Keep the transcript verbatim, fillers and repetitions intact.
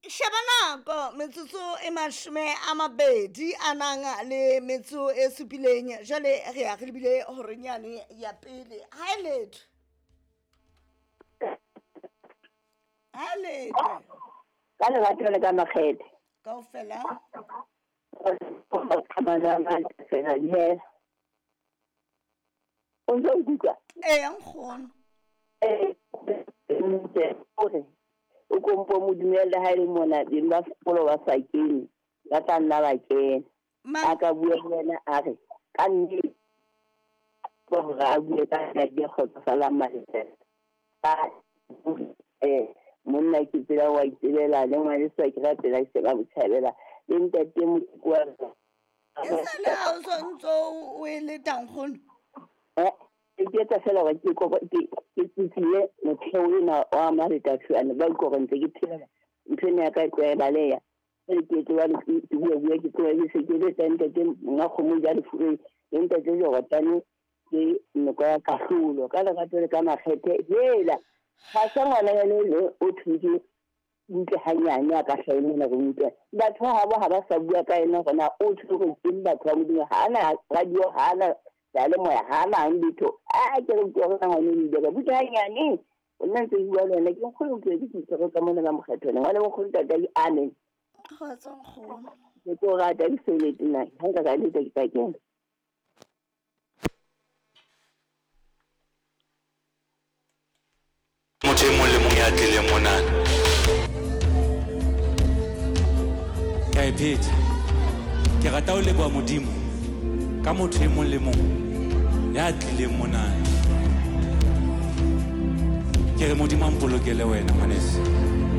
Sheba nako metsotso e mashome a mabedi a nang le metso e supileng, jwale re ya re lebile horeng yane ya pele. Ha e letho, ha e letho. Ka lerato le ka makgethe kaofela. O ntso nkutlwa? Ee, nkgono. Ee, ore o kompo mo dumelle ha e le mona beng ba sekolo ba sa kene, ba tla nna ba kena. A ka bua le wena a re ka nnete hore a bue ka nna ke kgotsofalang malesela. Eh, monna ke tsela wa itsebela le ngwaneso ke rapela ke se ba botjhabela le ntate Motoko wa E sale ha o so ntso o e leta nkgono? Eh, ke etsa fela hore ke ke ke tsitsile motheo ena wa Malethathuane ba utlwa hore ntse ke phela ntho ena ya ka e tlwae baleya. Jwale ke tloha ke bua bua ke tloha ke se ke letsa ntate monga kgomo ja lefureng le ntate Jorotane ke nako ya kahlolo ka lerato le ka makgethe. Hela ga sa ngwana yane o thutse butle hanyane a ka hlahe mona re utlwe batho ba habo ha ba sa bua ka ena hore na o tshwerwe ke batho ba Modimo. Ha ana radio, ha ana seyalemoya, ha ana letho. A ke re utlwa hore ngwana o ile ka butle hanyane o nna ntse bua le wena ke nkgono ke ke tshwere ka mona ka mokgetho ngwana nkgono tata amen. Kgotso nkgono. Ke tlo rata ke sebeletse nna ha nka ka letsa ke tla kena. Motho e mong le mong ya tlileng monana. Ke a e phetha. Ke rata ho leboha Modimo ka motho e mong le mong ya tlileng monana. Ke re Modimo a mpolokele wena ngwaneso.